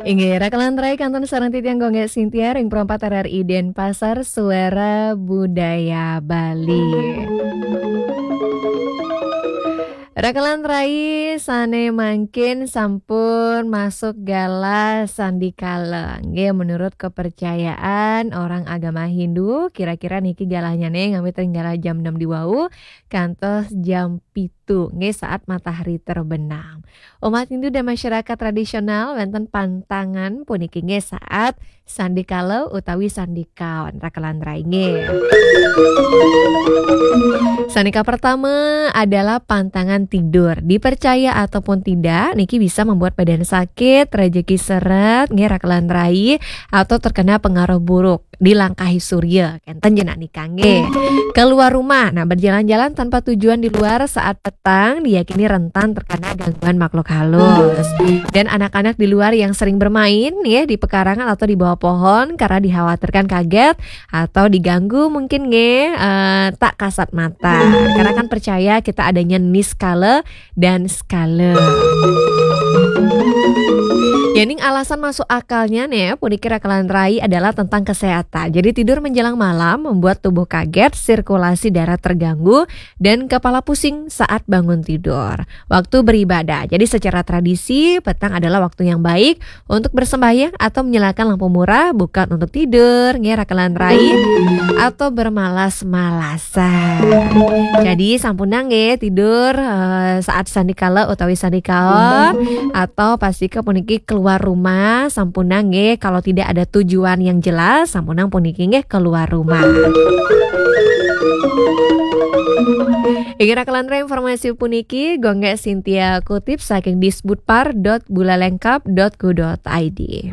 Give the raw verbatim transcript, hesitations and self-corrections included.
Inggih, rakelan rai kantun sareng titiang Gung Gek Sintia ring Pro empat R R I Denpasar, Suara Budaya Bali. Rakelan rai sane mangkin sampun masuk galah sandikala. Nggih, menurut kepercayaan orang agama Hindu, kira-kira niki galahnyane ngawit ring galah jam enam di wau kantos jam pitu, nggih, saat matahari terbenam. Umat Hindu dan masyarakat tradisional wenten pantangan puniki, nggih, saat sandikala utawi sandikaon, rakelan rai, nggih. Sandika pertama adalah pantangan tidur. Dipercaya ataupun tidak, niki bisa membuat badan sakit, rejeki seret, nggih, rakelan rai, atau terkena pengaruh buruk, dilangkahi surya, kenten jenak nika, nggih. Keluar rumah, nah, berjalan-jalan tanpa tujuan di luar saat petang diyakini rentan terkena gangguan makhluk halus. Dan anak-anak di luar yang sering bermain, ya, di pekarangan atau di bawah pohon karena dikhawatirkan kaget atau diganggu mungkin, nggih, eh, tak kasat mata. Karena kan percaya kita adanya niskala dan skala. Yening alasan masuk akalnya nih, puniki rakelan rai, adalah tentang kesehatan. Jadi tidur menjelang malam membuat tubuh kaget, sirkulasi darah terganggu, dan kepala pusing saat bangun tidur. Waktu beribadah. Jadi secara tradisi, petang adalah waktu yang baik untuk bersembahyang atau menyalakan lampu murah, bukan untuk tidur, nggih, rakelan rai, atau bermalas-malasan. Jadi sampunang, nggih, tidur, eh, saat sandikala utawi sandikaon, atau pastika puniki keluar rumah, sampunang, nggih, kalau tidak ada tujuan yang jelas, sampunang puniki, nggih, keluar rumah. Inggih, rakelan rai, informasi puniki Gung Gek Sintia kutip saking disbudpar dot bulalengkap dot go dot I D.